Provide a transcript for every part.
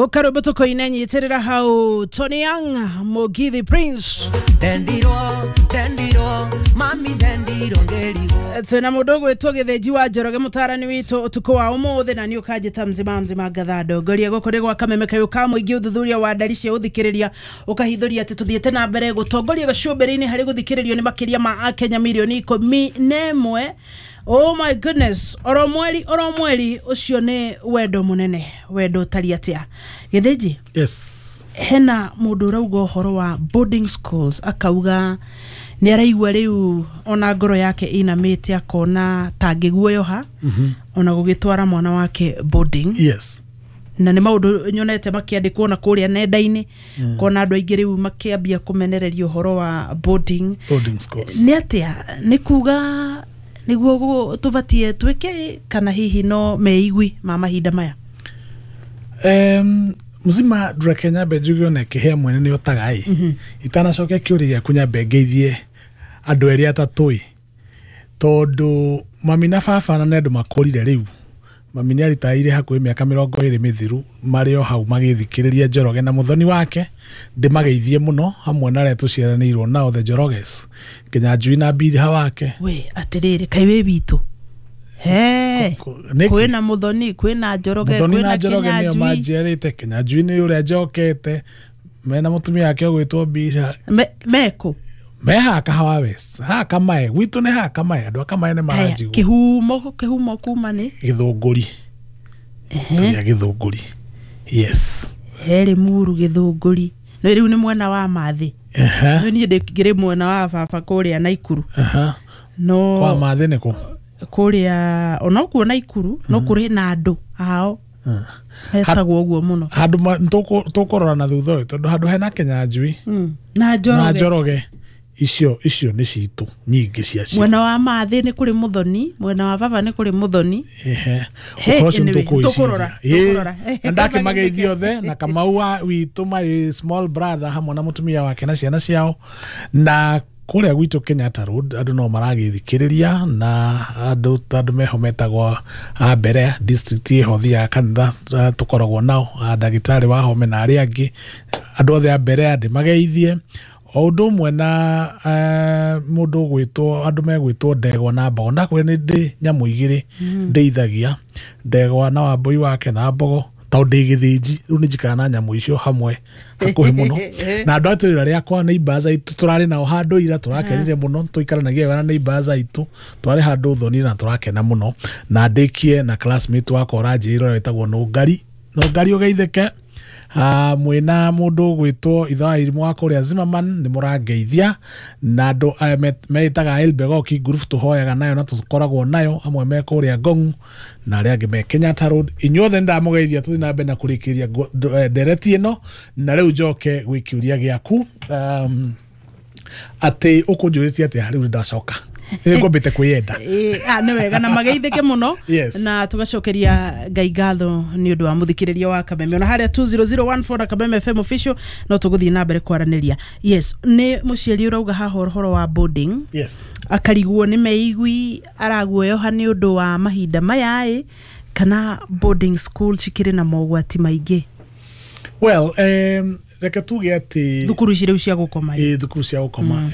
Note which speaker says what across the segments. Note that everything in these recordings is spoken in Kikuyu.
Speaker 1: Gũka rwĩmbo tũkũine nyitĩrĩra hau Tony Young Mugithi Prince.
Speaker 2: Ndendirwo, ndendirwo, mami ndendirwo ngĩrigwo.
Speaker 1: Twĩna mũndũ ũgwĩtwo Gĩthĩnji wa Njoroge, mũtarani witũ ũtukũ wa ũmũthĩ, na nĩ ũkanjĩta mzima mzima ngatha ndongoria. Gũkũ nĩ gwa Kameme kayũ ka mũingĩ. Ũthuthuria wa ndari cia ũthikĩrĩria ũkahithũria atĩ tũthiĩte na mbere gũtongoria gacũmbĩrĩ-inĩ harĩ gũthikĩrĩrio nĩ makĩria ma akenya mirioni 11. Oh my goodness, oro mweri oro mweri, ũcio nĩ wendo mũnene, wendo ũtari atĩa. Gĩthĩnji?
Speaker 3: Yes.
Speaker 1: Hena mũndũ ũrauga ũhoro wa boarding schools, akauga nĩ araigua rĩu ona ngoro yake inamĩte, akona tangĩguoyoha ona gũgĩtwara mwana wake boarding. Na nĩ maũndũ nyonete makĩandĩkwo na kũrĩa nenda-inĩ, kona andũ aingĩ rĩu makĩambia kũmenereria ũhoro wa boarding.
Speaker 3: Boarding schools.
Speaker 1: Nĩ atĩa, nĩ kuga nĩguo tũbatie twĩke, kana hihi no meigwi ma mahinda maya?
Speaker 3: Mzima, reke nyambe njuge ona kĩhĩa mwene nĩ otaga ĩ. Itanacokia kĩũria gĩaku, nyambe ngeithie andũ erĩ atatũ ĩ, tondũ mami na baba na nĩ andũ makũrire. Rĩu mami nĩ aritaire hakuhĩ mĩaka 20 mĩthiru, marĩ o hau magĩthikĩrĩria Njoroge na mũthoni wake. Ndĩmageithie mũno hamwe na arĩa tũciaranĩirwo nao, the Njoroges, nginya Njui na Mbiriha wake.
Speaker 1: We atĩrĩrĩ, kaĩ wĩ witũ he?
Speaker 3: Nĩkĩ?
Speaker 1: Kwĩna Mũthoni, kwĩna Njoroge?
Speaker 3: Mũthoni na
Speaker 1: Kwĩna
Speaker 3: Njoroge nĩo
Speaker 1: Kĩnyanjui.
Speaker 3: manjiarĩte. Kĩnyanjui nĩ ũrĩa njokete mena mũtumia wake ũgwĩtwo Mbiriha.
Speaker 1: Mekũ?
Speaker 3: Me haha Kahawa West, haha Kamae gwitũ, nĩ haha Kamae, andũ a Kamae nĩ
Speaker 1: Aya,
Speaker 3: maranjigua.
Speaker 1: Kĩhumo kuma nĩ?
Speaker 3: Gĩthũngũri, tũrĩa Gĩthũngũri, yes.
Speaker 1: Herĩ muru Gĩthũngũri no rĩu nĩ mwena wa Mathĩ. No niĩ ndĩkĩrĩ mwena wa baba kũrĩa Naikuru. No
Speaker 3: Kwa Mathĩ nĩ kũ?
Speaker 1: Kũrĩa onokuo Naikuru, no kũrĩ na andũ ao hetagwo ũguo mũno.
Speaker 3: Handũ tũkũrora na thutha ũyũ, tondũ handũ hena Kĩnyanjui
Speaker 1: na
Speaker 3: na
Speaker 1: Njoroge.
Speaker 3: Njoroge, icio nĩ citũ nyingĩ ciacio.
Speaker 1: Mwena wa Mathĩ nĩ kũrĩ Mũthoni, mwena wa baba nĩ kũrĩ Mũthoni. He,
Speaker 3: Ũhoro ũcio
Speaker 1: anyway,
Speaker 3: nĩtũkũwĩciria.
Speaker 1: tũkũrora.
Speaker 3: Na ndakĩmageithia othe na Kamau wa witũ, my small brother, hamwe na mũtumia wake na ciana ciao. Na kũrĩa gwitũ Kenyatta Road andũ no maragĩthikĩrĩria, na andũ ta andũ meho metagwo a mbere district ĩho thiaga kanitha, tũkoragwo nao a ndagĩtarĩ wa home na arĩa angĩ, andũ othe a mbere ndĩmageithie, o ũndũ ũmwe na mũndũ ũgwĩtwo, andũ megwĩtwo Ndegwa na Mbogo. Ndakwĩra nĩ ndĩ nyamũ igĩrĩ ndĩithagia, Ndegwa na Wambũi wake na Mbogo, tondũ ndĩ gĩthĩnji. Rĩu nĩ njikaraga na nyamũ icio hamwe hakuhĩ mũno na andũ a itũũra rĩakwa, neighbors aitũ tũrarĩ nao handũ ira, tũrakenire mũno, tũikaranagia wega na neighbors aitũ, twarĩ handũ thoni na tũrakena mũno. Na ndĩkie na classmate wakwa ũranjĩrĩra, ũrĩa wĩtagwo Nũngari. Nũngari, ũgeithĩke. Mwĩna mũndũ ũgwĩtwo ithe wa irimũ wa kũrĩa Zimmerman, nĩ mũrangeithia, na andũ aya meĩtaga Elbegoki group tũhoyaga nayo na tũkoragwo nayo amwe me kũrĩa Ngong na arĩa angĩ me Kenyatta Road. Inyuothe nĩ ndamũgeithia. Tũthiĩ na mbere na kũrĩkĩria ndereti ĩno, na rĩu njoke gwĩ kĩũria gĩaku, atĩ ũkũnjũrĩtie atĩa. Rĩu nĩ ndacoka, nĩ ngwambĩte kwĩyenda.
Speaker 1: Ĩ, nĩ wega na mageithĩke mũno. Na tũgacokeria Ngai ngatho nĩ ũndũ wa mũthikĩrĩria wa Kameme ona harĩa 20014 na Kameme FM official. No tũgũthiĩ na mbere kwaranĩria. Yes, nĩ mũciari ũrauga haha ũhoro wa boarding. Akarigwo nĩ meigui araguoyoha nĩ ũndũ wa mahinda maya ĩ, kana boarding school cikĩrĩ na mogwati maingĩ?
Speaker 3: Well, reke tuge atĩ
Speaker 1: thukuru ici rĩu cia gũkoma ĩ.
Speaker 3: Ĩ, thukuru cia gũkoma.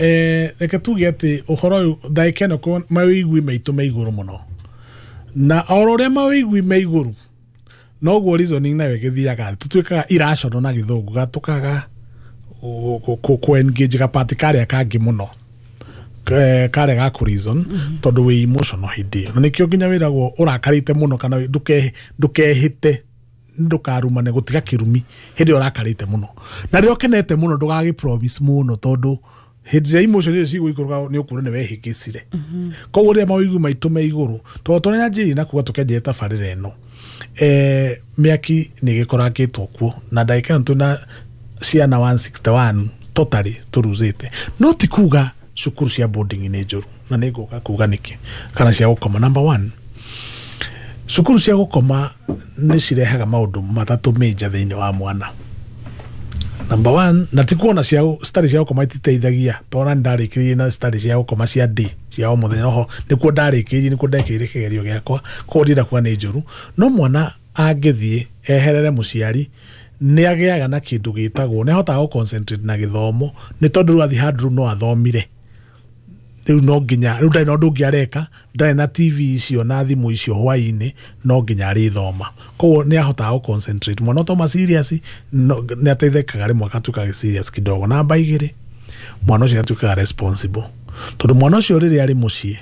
Speaker 3: Reke tuge atĩ ũhoro ũyũ ndagĩka ĩno mawĩigui maitũ me igũrũ mũno, na oro ũrĩa mawĩigui me igũrũ noguo reasoning nayo ĩgĩthiaga, tũtuĩkaga irrational na gĩthũngũ, gatũkaga kũ engage gapati karĩa kangĩ mũno, karĩa ga kũ reason, tondũ wĩ emotional hĩndĩ ĩyo, na nĩkĩo nginya wĩragwo ũrakarĩte mũno kana ndũkehĩte, ndũkarumane, gũtiga kĩrumi hĩndĩ ĩyo ũrakarĩte mũno, na rĩrĩa ũkenete mũno ndũgagĩ promise mũno, tondũ hĩndĩ ĩrĩa emotion icio cigũikũrũka nĩ ũkuona nĩ wehĩngĩcire. Koguo rĩrĩa mawĩigwi maitũ me igũrũ, tondũ tũrĩa na kuga tũkĩanjia tabarĩra ĩno, mĩaki nĩ ĩgĩkorangĩtwo kuo, na ndagĩka ĩno twĩna ciana 161 totally tũruzĩte. No ti kuga cukuru cia boarding nĩ njũru, na nĩ ngũka kuga nĩkĩ, kana cia gũkoma. Number one, cukuru cia gũkoma nĩ cirehaga maũndũ matatũ major thĩinĩ wa mwana. Number one, na ti kuona cia citarĩ cia gũkoma ititeithagia, tondũ nĩ ndarĩkĩrĩirie na citarĩ cia gũkoma cia day, cia o mũthenya, oho nĩkuo ndarĩkĩrĩirie, nĩkuo ndekĩire kĩgerio gĩakwa, koguo ndĩrenda kuga nĩ njũru. No mwana angĩthiĩ eherere mũciari Nĩ agĩaga na kĩndũ gĩtagwo nĩ ahotaga gũ concentrate na gĩthomo, nĩ tondũ rĩu athiĩ handũ rĩu no athomire. Rĩu no nginya rĩu ndarĩ na ũndũ ũngĩ areka, ndarĩ na TV icio na thimũ icio hwaĩ-inĩ, no nginya arĩthoma. Koguo nĩ ahotaga gũ concentrate. Mwana ũtauma serious no, nĩ ateithĩkaga rĩmwe agatuĩka serious kidogo. Namba 2, mwana ũcio atuĩkaga responsible, tondũ mwana ũcio rĩrĩa arĩ mũciĩ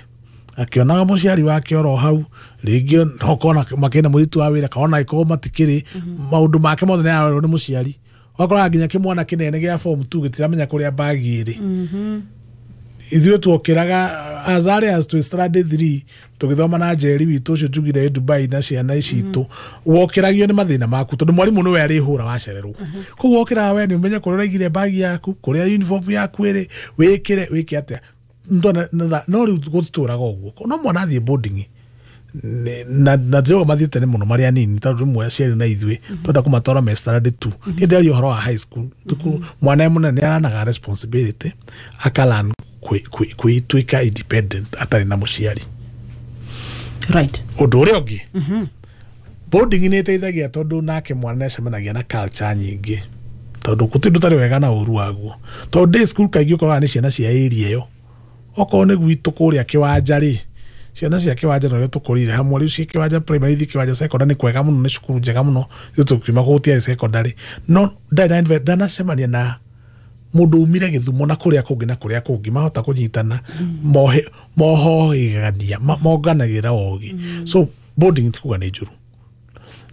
Speaker 3: akĩonaga mũciari wake oro hau, rĩngĩ no kona makĩna mũirĩtu wa wĩra, kana ona ĩkorwo matikĩrĩ, maũndũ make mothe nĩ ararorwo nĩ mũciari. Ũgakoraga nginya kĩmwana kĩnene gĩa form 2 gĩtiramenya kũrĩa bagi ĩrĩ. Ithuĩ tuokĩraga as early as twĩ standard 3 tũgĩthoma na Njeri witũ ũcio njugire Dubai na ciana ici itũ, wokĩragio nĩ mathĩna maku tondũ mwarimũ nĩwe arĩhũra wacererwo. Koguo wokĩraga we nĩ ũmenye kũrĩa ũraigire bagi yaku, kũrĩa uniform yaku ĩrĩ, wĩkĩre wĩke atĩa. No rĩu gũtitũraga ũguo. No mwana athiĩ boarding na ndĩroga mathiĩ tene mũno marĩ anini, tondũ rĩmwe aciari na ithuĩ twenda kũmatwara me standard 2. Niĩ ndĩraria ũhoro wa high school, thukuru mwana e mũnene nĩ aranaga responsibility, akalan kwĩtuĩka independent atarĩ na mũciari.
Speaker 1: Right.
Speaker 3: Ũndũ ũrĩa ũngĩ, boarding nĩ ĩteithagia tondũ nake mwana nĩacemanagia na culture nyingĩ, tondũ gũtirĩ ũndũ ũtarĩ wega na ũru waguo. Tondũ day school kaingĩ ũkoraga nĩ ciana cia area ĩyo, okorwo nĩ gwitũ kũrĩa kĩwanja rĩ, ciana cia kĩwanja no tũkũrire hamwe. Rĩu cia kĩwanja primary ithi kĩwanja secondary nĩ kwega mũno, nĩ cukuru njega mũno. Ithuĩ tũkiuma kũu gũtiarĩ secondary, no ndanacemania na mũndũ umire Gĩthumo na kũrĩa kũngĩ na kũrĩa kũngĩ, mahota kũnyitana, mohohĩgania, monganagĩra ũgĩ. So boarding ti kuga nĩ njũru,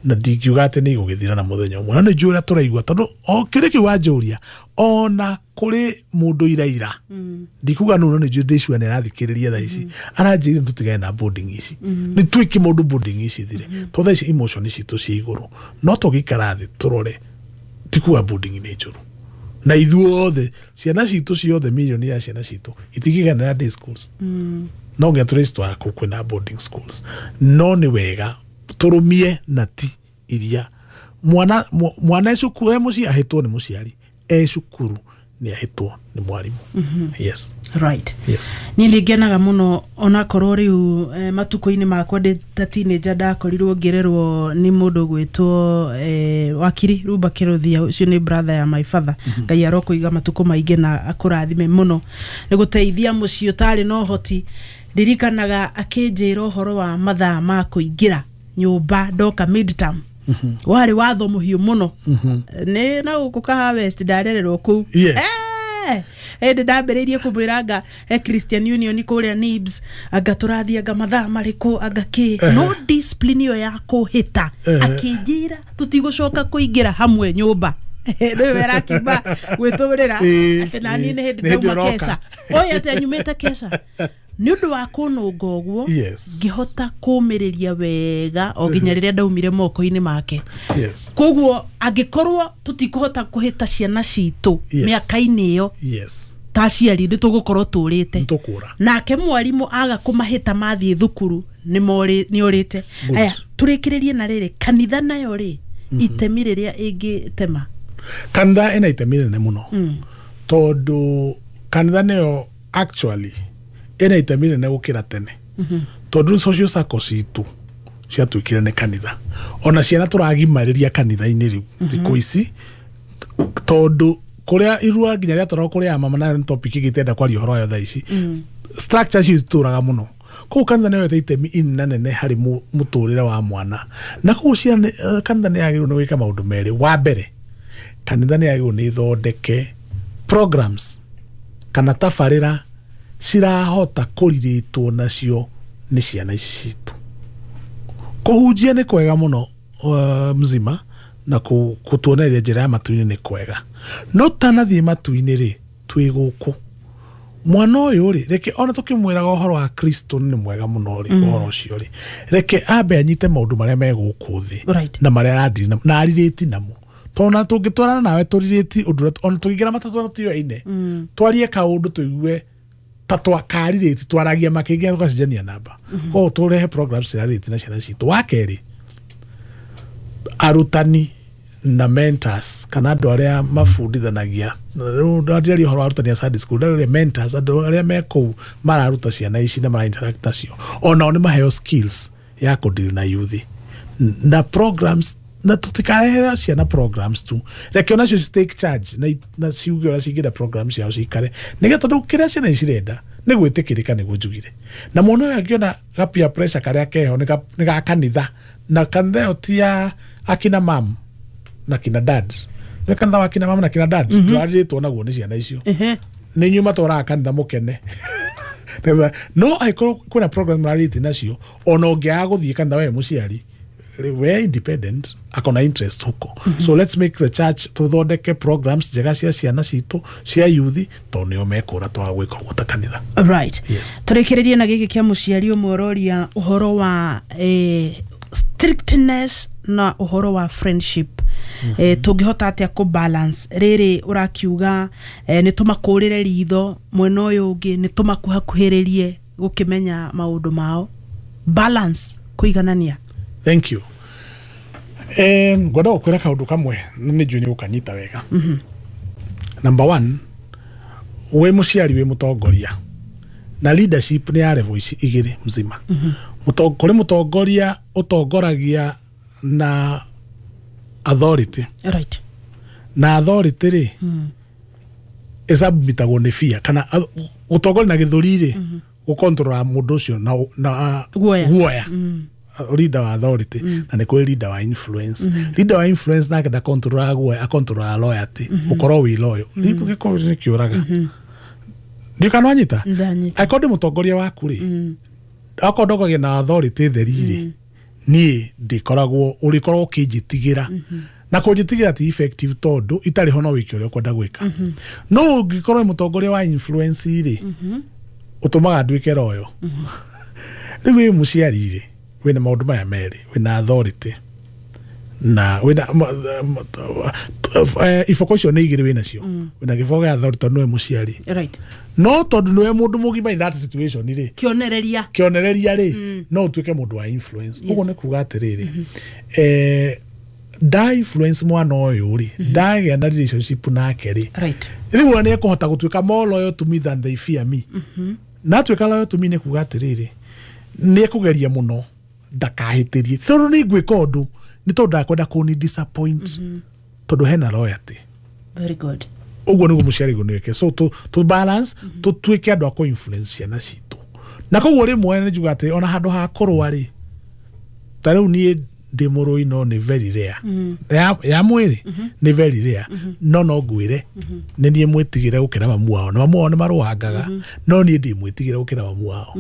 Speaker 3: na ndingiuga atĩ nĩ igũgĩthira na mũthenya ũmwe, na nĩ njũĩ ũrĩa tũraigua, tondũ o kĩrĩ kĩu wanjũria, ona kũrĩ mũndũ iraira, ndikuga nũ, no nĩ njũĩ ndĩcua nĩ arathikĩrĩria thaa ici, aranjĩrire tũtigane na boarding ici, nĩ twĩke maũndũ boarding ici thire, tondũ thaa ici emotion citũ ciĩ igũrũ. No tũgĩikara thĩ tũrore, ti kuga boarding nĩ njũru, na ithuothe ciana citũ ciothe, milioni ya ciana citũ itingĩiganĩra day schools, no nginya tũrĩcitwara kũu kwĩna boarding schools. No nĩ wega tũrũmie na ti iria mwana mwana e cukuru e mũciĩ ahĩtwo nĩ mũciari, e cukuru nĩ ahĩtwo nĩ mwarimũ. Yes.
Speaker 1: Right.
Speaker 3: Yes.
Speaker 1: Niĩ nĩ ngenaga mũno onakorwo rĩu matukũ-inĩ makwa ndĩ ta teenager ndakorirwo ngĩrerwo nĩ mũndũ gwĩtwo wakiri Rumba Kĩrũthia, ũcio nĩ brother ya my father. Ngai arokũiga matukũ maingĩ na akũrathime mũno nĩ gũteithia mũciĩ ũtarĩ na ũhoti. Ndirikanaga akĩnjĩra ũhoro wa mathaa ma kũingĩra nyũmba ndoka midterm, warĩ watho mũhiũ mũno. Nĩ na gũkũ Kahawa West ndarererwo kũu.
Speaker 3: Yes.
Speaker 1: Hĩndĩ ndambĩrĩirie kũmwĩra anga Christian Union kũrĩa Nibs, anga tũrathiĩ anga mathaa marĩkũ, anga kĩ, no discipline ĩyo ya kũhĩta, akĩnjĩra tũtigũcoka kũingĩra hamwe nyũmba. Nĩwe arakiuma gwĩtũrĩra atĩ naniĩ nĩ hĩndĩ ndauma keca, oĩ atĩ anyumĩte keca. Nĩ ũndũ wa kũnũnga ũguo, ngĩhota kũmĩrĩria wega o nginya rĩrĩa ndaumire moko-inĩ make.
Speaker 3: Yes.
Speaker 1: Koguo angĩkorwo tũtikũhota kũhĩta ciana citũ mĩaka-inĩ ĩyo,
Speaker 3: Yes.
Speaker 1: ta aciari nĩ tũgũkorwo tũrĩte.
Speaker 3: Nĩtũkũra.
Speaker 1: Nake mwarimũ aga kũmahĩta mathiĩ thukuru nĩ orĩte.
Speaker 3: Good.
Speaker 1: Aya, tũrĩkĩrĩrie na rĩrĩ, kanitha nayo rĩ, itemi rĩrĩa ĩngĩtema.
Speaker 3: Kanitha ĩna itemi rĩnene mũno, tondũ kanitha nĩyo actually ĩna itemi rĩnene gũkĩra tene, tondũ rĩu social circle citũ ciatuĩkire nĩ kanitha. Ona ciana tũragimarĩria kanitha-inĩ rĩu thikũ ici, tondũ kũrĩa irua nginya rĩatwaragwo kũrĩa mama, nayo nĩ topic ĩngĩ itenda kwaria ũhoro wayo thaa ici. Structure cio itũraga mũno. Koguo kanitha nĩyo yoete itemi inene harĩ mũtũrĩre wa mwana, na koguo ciana kanitha nĩ yagĩrĩirwo nĩ gwĩka maũndũ merĩ. Wa mbere, kanitha nĩ yagĩrĩirwo nĩ ĩthondeke programs kana tabarĩra cirahota kũrirĩtwo nacio nĩ ciana ici citũ. Kũhunjia nĩ kwega mũno, mzima, na kũtuonereria njĩra ya matu-inĩ nĩ kwega, no tanathiĩ matu-inĩ rĩ, twĩ gũkũ. Mwana ũyũ rĩ, reke ona tũkĩmwĩraga ũhoro wa Kristo nĩ mwega mũno rĩ, ũhoro ũcio rĩ, reke ambe anyite maũndũ marĩa me gũkũ thĩ
Speaker 1: Right.
Speaker 3: na marĩa aradiri namo, na arirĩti namo. Tondũ ona tũngĩtwarana nawe tũrirĩti ũndũ ũrĩa, ona tũngĩingĩra matatũ na tũyoine, twarie kaũndũ tũigue ta twakarirĩti, twaragia makĩngĩ tũgacenjania namba. Koguo tũrehe programs cirarĩti na ciana citũ. Wa kerĩ, arutani na mentors kana andũ arĩa mabundithanagia, rĩu ndĩraria ũhoro wa arutani a Sunday school, ndĩraria mentors, andũ arĩa me kũu mararuta ciana ici na mara interact nacio, onao nĩ maheo skills ya kũdeal na youth na programs. Na tũtikarehere ciana programs tu, reke onacio ci take charge na ciuge ũrĩa cingĩenda programs ciao cikare, nĩgetha tondũ kĩrĩa ciana ici cirenda nĩ gwĩtĩkĩrĩka, nĩguo njugire. Na mwana ũyũ angĩona ga peer pressure karĩa keho nĩ ga kanitha, na kanitha ĩyo ti ya akina mam na kina dad, nĩ kanitha wa kina mam na kina dad ndũrarĩtwo naguo nĩ ciana icio. Nĩ inyuĩ matwaraga kanitha mũkene. No angĩkorwo kwĩna program mararĩte nacio, ona ũngĩaga gũthiĩ kanitha we mũciari, we independent, akona interest huko. So let's make the church, tuthondeke programs njega cia ciana citũ cia youth, tondũ nĩo mekũra twaga gwĩka ũguo ta kanitha.
Speaker 1: Right.
Speaker 3: Yes.
Speaker 1: Tũrĩkĩrĩrie na gĩkĩ kĩa mũciari ũmwe ũroria ũhoro wa strictness na ũhoro wa friendship. Tũngĩhota atĩa kũ balance rĩrĩ? Ũrakiuga nĩ tũmakũrĩre ritho, mwena ũyũ ũngĩ nĩ tũmakuhakuhĩrĩrie gũkĩmenya maũndũ mao, balance, kũiganania.
Speaker 3: Thank you. Ngwenda gũkwĩra kaũndũ kamwe na nĩ njũĩ nĩ ũkanyita wega. Number one, wĩ mũciari, wĩ mũtongoria, na leadership nĩ ya level ici igĩrĩ mzima. Kũrĩ mũtongoria ũtongoragia na authority, na authority rĩ, ĩsubmitagwo nĩ fear, kana gũtongoria na gĩthũri rĩ, gũkontrora mũndũ ũcio na
Speaker 1: Guoya.
Speaker 3: Guoya. Leader wa authority. Na nĩ kũrĩ leader wa influence. Leader wa influence nake ndakontrolaga guoya, akontrolaga loyalty, gũkorwo wĩ loyal. Rĩu gĩkorwo nĩ kĩũraga ndiũ kana wanyita.
Speaker 1: Ndanyita.
Speaker 3: Angĩkorwo ndĩ mũtongoria waku rĩ, akorwo ndongoragia na authority theri rĩ, niĩ ndĩkoragwo ũrĩkoragwo ũkĩnjĩtigĩra, na kũnjĩtigĩra ti effective, tondũ itarĩ ho no wĩke ũrĩa ũkwenda gwĩka. No ũngĩkorwo wĩ mũtongoria wa influence rĩ, ũtũmaga nduĩke loyal. Rĩu wĩ mũciari rĩ, wĩna maũndũ maya merĩ, wĩna authority na wĩna iboko icio nĩ igĩrĩ wĩnacio. Wĩna gĩboko gĩa authority tondũ nĩwe mũciari, no tondũ nĩwe mũndũ mũgima in that situation rĩ,
Speaker 1: kĩonereria.
Speaker 3: Kĩonereria rĩ, no ũtuĩke mũndũ wa influence. Ũguo nĩ kuga atĩrĩrĩ, nda influence mwana ũyũ rĩ, ndagĩa na relationship nake rĩ, rĩu ona nĩ ekũhota gũtuĩka more loyal to me than they fear me. Na atuĩka loyal to me, nĩ kuga atĩrĩrĩ, nĩ ekũgeria mũno ndakahĩtĩrie, tondũ nĩ ngwĩka ũndũ nĩ tondũ ndakwenda kũni disappoint, tondũ hena loyalty.
Speaker 1: Very good.
Speaker 3: Ũguo nĩguo mũciari guo nĩwĩke. So to balance, tũtuĩke andũ a kũ influence ciana citũ. Na koguo rĩmwe nĩ njuga atĩ ona handũ ha kũrũa rĩ, ta rĩu niĩ ndĩ mũrũi, no nĩ very rare ya mwĩrĩ, nĩ very rare, no ngwĩre nĩ niĩ mwĩtigĩre gũkĩra mamu wao, na mamu wao nĩ marũangaga, no niĩ ndĩ mwĩtigĩre gũkĩra mamu wao,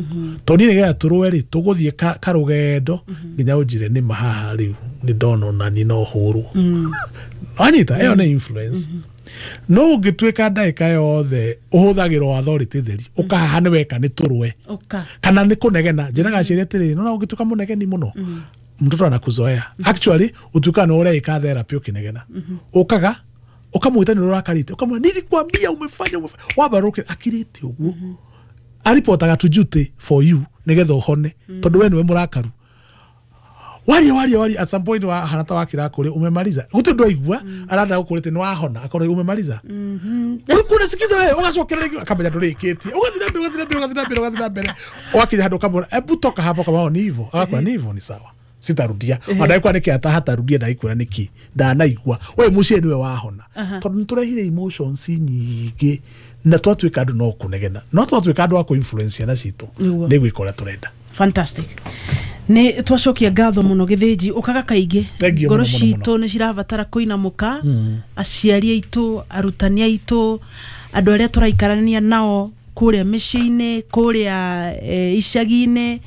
Speaker 3: tondũ niĩ nĩgetha tũrũe rĩ, tũgũthiĩ karũgendo nginya ũnjĩre nĩ mahaha rĩu nĩ ndona ona niĩ no hũrwo. Wanyita? Ĩyo nĩ influence. No ũngĩtuĩka ndagĩka yothe ũhũthagĩrwo authority theri, ũkahaha nĩ weka nĩ tũrũe
Speaker 1: ũka
Speaker 3: kana nĩ kũnegena, njĩraga aciari atĩrĩrĩ, nona ũngĩtuĩka mũnegeni mũno, mtoto anakuzoea. Actually ũtuĩkaga nĩ ũreĩka therapy ũkĩnegena. Ũkaga ũkamwĩta nĩ ũrakarĩte, ũkamwĩra, "Nilikwambia umefanya, umefanya." Wamba rũke akirĩte ũguo, aripotaga to duty for you nĩgetha ũhone, tondũ we nĩwe mũrakaru. Waria, waria, waria, at some point wa hana ta wakira kũrĩ umemaliza, gũtirĩ ũndũ aigua aranda gũkũrĩte nĩ wahona, akorwo umemaliza, ulikuwa unasikiza wewe, ũgacokera rĩngĩ, akamenya ndũrĩkĩtie, ũgathiĩ na mbere, ũgathiĩ na mbere, ũgathiĩ na mbere, ũgathiĩ na mbere, ũgakinya handũ ũkamwĩra, "Ebu toka hapo." Kama ni hivyo, agakwĩra ni hivyo, ni sawa, sitarudia. Ona ndagĩkwĩra nĩkĩ atahatarudia, ndagĩkwĩra nĩkĩ ndanaigua we mũciĩ nĩwe wahona, tondũ nĩtũrehire emotions nyingĩ na twatuĩka andũ no kũnegena, no twatuĩka andũ a kũ-influence ciana citũ, nĩ gwĩka ũrĩa tũrenda.
Speaker 1: Fantastic. Nĩ twacokia ngatho mũno, Gĩthĩnji, ũkaga kaingĩ.
Speaker 3: Thank you
Speaker 1: Ngoro
Speaker 3: mũno, mũno, mũno.
Speaker 1: citũ nĩ cirabatara kũinamũka, aciari aitũ, arutani aitũ, andũ arĩa tũraikarania nao kũrĩa mĩciĩ-inĩ, kũrĩa icagi-inĩ,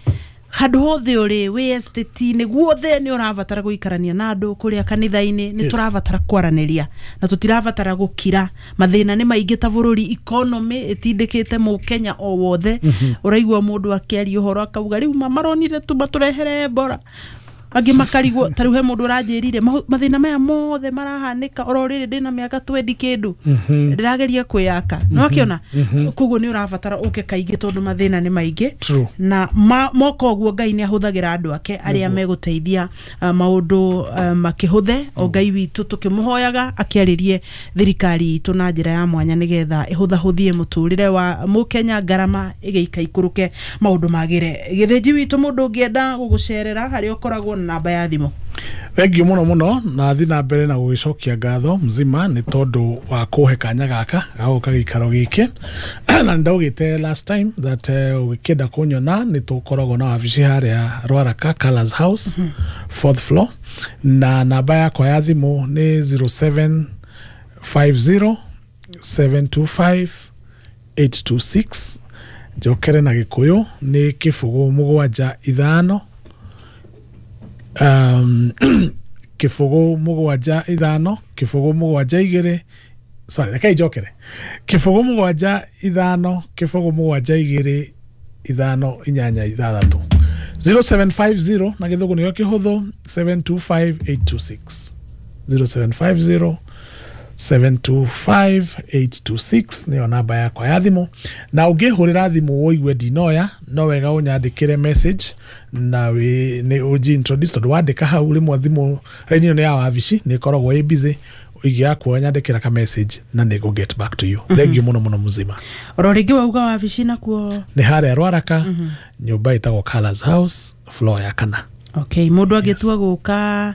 Speaker 1: handũ hothe ũrĩ, wĩ estate-inĩ, guothe nĩ ũrabatara gũikarania na andũ, kũrĩa kanitha-inĩ nĩ tũrabatara kwaranĩria na tũtirabatara gũkira. Mathĩna nĩ maingĩ ta bũrũri, economy ĩtindĩkĩte mũkenya o wothe. Ũraigua mũndũ akĩaria ũhoro akauga rĩu maronire tu matũrehere Ebola, angĩ makarigwo. Ta rĩu he mũndũ ũranjĩrire mathĩna maya mothe marahanĩka oro rĩrĩ ndĩna mĩaka 20 kĩndũ, ndĩrageria kwĩyaka nĩ wakĩona. Koguo nĩ ũrabatara ũke kaingĩ tondũ mathĩna nĩ maingĩ.
Speaker 3: True.
Speaker 1: Na moka ũguo, Ngai nĩ ahũthagĩra andũ ake arĩa megũteithia maũndũ makĩhũthe. O Ngai witũ tũkĩmũhoyaga akĩarĩrie thirikari itũ na njĩra ya mwanya nĩgetha ĩhũthahũthie mũtũrĩre wa mũkenya, ngarama ĩgĩika ikũrũke, maũndũ magĩre. Gĩthĩnji witũ, mũndũ ũngĩenda gũgũcerera harĩa ũkoragwo, na namba ya thimũ?
Speaker 3: Thengiũ mũno mũno, na thiĩ na mbere na gũgĩcokia ngatho mzima nĩ tondũ wa kũhe kanya gaka ga gũka gĩikaro gĩkĩ. Na nĩ ndaugĩte last time that ũgĩkĩenda kũnyona, nĩ tũkoragwo na wabici harĩa Rwaraka, Colors House, fourth floor, na namba yakwa ya thimũ nĩ 0750 725 826. Njokere na Gĩkũyũ, nĩ 075 075 072, sorry, reke njokere, 075 072 586. 0750 na Gĩthũngũ nĩkĩo kĩhũthũ, 725 826. 0750 725826 nĩyo namba yakwa ya thimũ, na ũngĩhũrĩra thimũ ũigue ndinoya, no wega ũnyandĩkĩre message na wĩ nĩ ũnji introduce, tondũ wandĩka hau rĩmwe thimũ raini ĩyo nĩ ya wabici, nĩ ĩkoragwo ĩ busy. Ingĩaga kuoya, nyandĩkĩra ka message na nĩ ngũ get back to you. Thank you mũno mũno, mzima.
Speaker 1: Oro rĩngĩ, wauga wabici nakuo?
Speaker 3: Nĩ harĩa Rwaraka, nyũmba ĩtagwo Colors House, floor ya kana.
Speaker 1: Okay, mũndũ angĩtua gũka?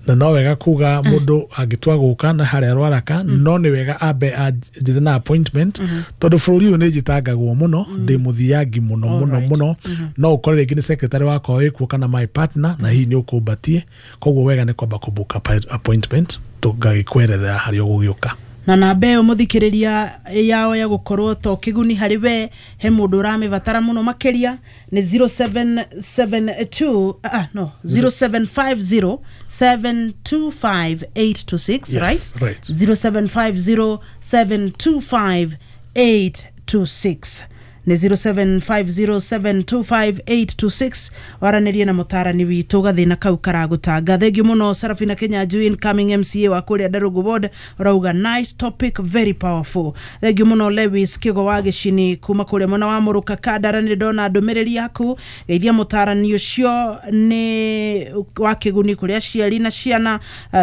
Speaker 3: Na no wega kuga mũndũ angĩtua gũka na harĩa Rwaraka, no nĩ wega ambe anjĩthe na appointment, tondũ bũrũri ũyũ nĩ njĩtangagwo mũno, ndĩ mũthiangi mũno mũno mũno. No ũkore rĩngĩ nĩ secretary wakwa wĩkuo kana my partner, na hihi nĩ ũkũmbatie. Koguo wega nĩ kwamba kũbook appointment, tũngagĩkwerethera harĩa ũgũgĩũka.
Speaker 1: Na namba ĩyo, mũthikĩrĩria, yao ya gũkorwo to kĩguni harĩ we, he mũndũ ũramĩbatara mũno makĩria, nĩ 0772, ah, no, 0750 725 826.
Speaker 3: Yes,
Speaker 1: right?
Speaker 3: Right.
Speaker 1: 0750 725 826, nĩ 0750725826, waranĩrie na mũtarani witũ gathĩna kau karagũtanga. Thengiũ mũno. Sarafina Kinyanjui, incoming MCA wa kũrĩa Ndarũngũ ward, ũrauga nice topic, very powerful. Thengiũ mũno. Lewis Kĩgo wa Gĩcini kuma kũrĩa mwena wa Mũrũka Kandara, nĩ ndona ndũmĩrĩri yaku. Geithia mũtarani ũcio, nĩ wa kĩguni kũrĩ aciari na ciana.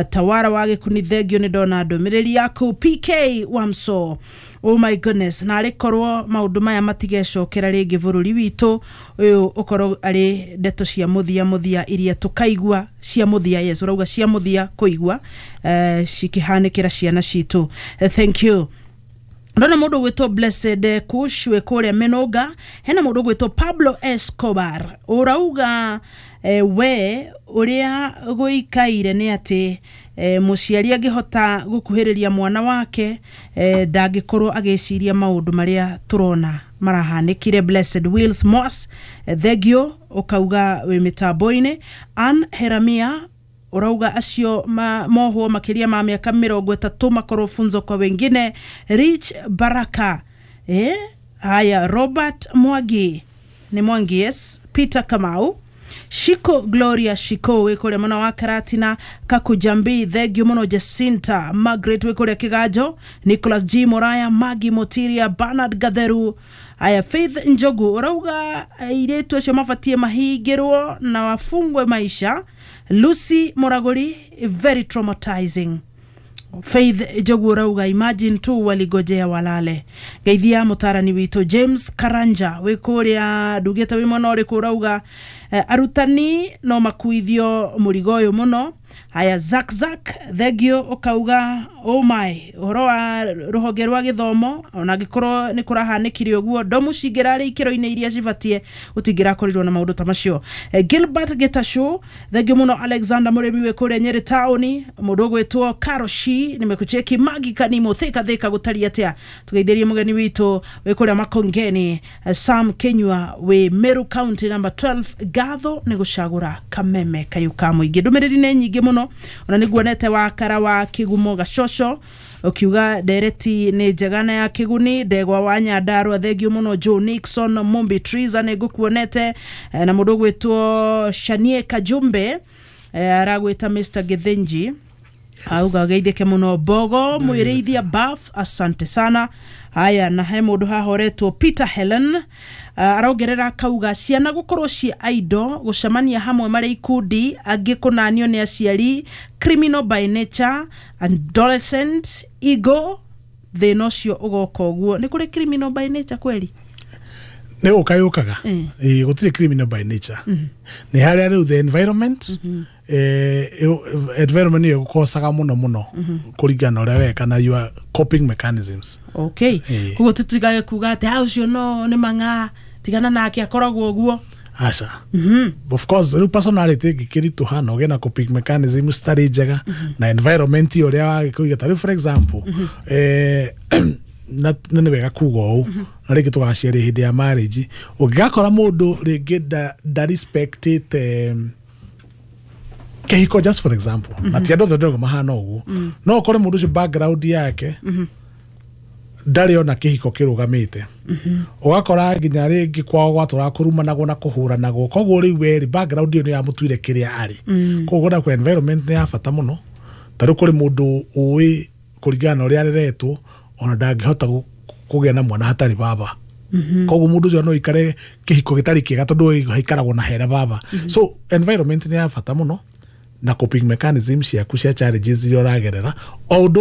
Speaker 1: Tawara wa Gĩkuni, thengiũ, nĩ ndona ndũmĩrĩri yaku. PK Wamso, oh my goodness, na arĩ korwo maũndũ maya matigecokera rĩngĩ bũrũri witũ ũyũ, ũkorwo arĩ ndeto cia mũthia mũthia iria tũkaigua, cia mũthia, yes, ũrauga cia mũthia kũigua cikĩhanĩkĩra ciana citũ. Thank you. Ndona mũndũ gwĩtwo Blessed Kush wĩ kũrĩa Mĩnũnga. Hena mũndũ gwĩtwo Pablo Escobar, ũrauga we ũrĩa gũikaire nĩ atĩ mũciari angĩhota gũkuhĩrĩria mwana wake, ndangĩkorwo agĩciria maũndũ marĩa tũrona marahanĩkire. Blessed Wills Moss, thengio, ũkauga wĩ mĩtambo-inĩ. Ann Heramia ũrauga acio mohwo makĩria ma mĩaka 30 makorwo funzo kwa wengine. Rich Baraka, haya, Robert Mwangi, nĩ Mwangi, yes, Peter Kamau, Shiko Gloria Shiko wĩ kũrĩa mwena wa Karatina, Kakujambi, thengio mũno. Jacinta Margaret wĩ kũrĩa Kĩganjo, Nicholas G Moraya, Magi Motiria, Bernard Gatheru. Aya, Faith Njogu ũrauga airĩtu acio mabatie mahingĩrwo na wafungwe maisha. Lucy Muraguri, very traumatizing. Faith Njogu ũrauga imagine tu waligojea walale. Geithia mũtarani witũ James Karanja wĩ kũrĩa, ndugĩte wĩ mwena ũrĩkũ. Ũrauga arutani no makuithio mũrigo ũyũ mũno. Haya, Zak Zak, thengio, ũkauga oh my, ũhoro wa rũhonge rwa gĩthomo, ona angĩkorwo nĩ kũrahanĩkire ũguo, ndomu cingĩrarĩ ikĩro-inĩ iria cibatie, gũtingĩrakorirwo na maũndũ ta macio. Gilbert Getashu, thengio mũno. Alexander Mũrĩmi wĩ kũrĩa Nyĩrĩ taũni. Mũndũ ũgwĩtwo Karoshi, nimekucheki. Magi Kanimo, thika thika, gũtariĩ atĩa? Tũgeithĩrie mũgeni witũ wĩ kũrĩa Makongeni, Sam Kenyua wĩ Meru County number 12. Ngatho nĩ gũcagũra kameme kayũ ka mũingĩ. Ndũmĩrĩri nĩ nyingĩ mũno, ona nĩ nguonete wakara wa Kĩgumo Gacoco, ũkiuga ndereti nĩ njega na ya kĩguni. Ndegwa wa Nyandarua, thengio mũno. Joe Nixon Mumbi Triza, nĩ ngũkuonete. Na mũndũ ũgwĩtwo Shanie Kajumbe, aragwĩta Mr Githinji, auga geithĩke mũno. Mbogo mwĩrĩithia Baf, asante sana. Haya, na he mũndũ hahoretwo Peter Helen, arongerera akauga ciana gũkorwo ciĩ aido, gũcemania hamwe marĩ ikundi, angĩ kũnanio nĩ aciari, criminal by nature, adolescent ego, thĩna ũcio ũgoka ũguo. Nĩ kũrĩ criminal by nature kweri?
Speaker 3: Nĩ gũka yũkaga. Ĩĩ, gũtirĩ criminal by nature, nĩ harĩa rĩu the environment. Environment ĩyo ĩgũkocaga mũno mũno kũringana na ũrĩa weka na your coping mechanisms.
Speaker 1: Okay. Koguo tũtigage kuga atĩ "Ah, ũcio no nĩ mang'a, tigana nake, akoragwo ũguo."
Speaker 3: Aca, of course rĩu personality ĩngĩkĩritũha na ũgĩe na coping mechanism citarĩ njega na environment ĩyo ũrĩa wagĩkũiga, ta rĩu for example, na nĩ wega kuga ũũ na rĩngĩ tũgaciaria hĩndĩ ya marriage, ũngĩgakora mũndũ rĩngĩ nda respectĩte kĩhiko, just for example, na ti andũ othe ndĩrauga mahana ũguo, no ũkore mũndũ ũcio background yake ndarĩ ona kĩhiko kĩrũgamĩte, ũgakora nginya rĩngĩ kwao gwatũraga kũrumanagwo na kũhũranagwo, koguo rĩu werĩ background ĩyo nĩ yamũtuire kĩrĩa arĩ. Koguo na kwa environment nĩ ya bata mũno. Ta rĩu kũrĩ mũndũ ũĩ kũringana na ũrĩa areretwo ona ndangĩhota kũgĩa na mwana hatarĩ baba, koguo mũndũ ũcio no aikare kĩhiko gĩtarĩ kĩega tondũ haikaragwo na hena baba. So environment nĩ ya bata mũno na coping mechanism ciaku cia challenges iria ũragerera o ũndũ.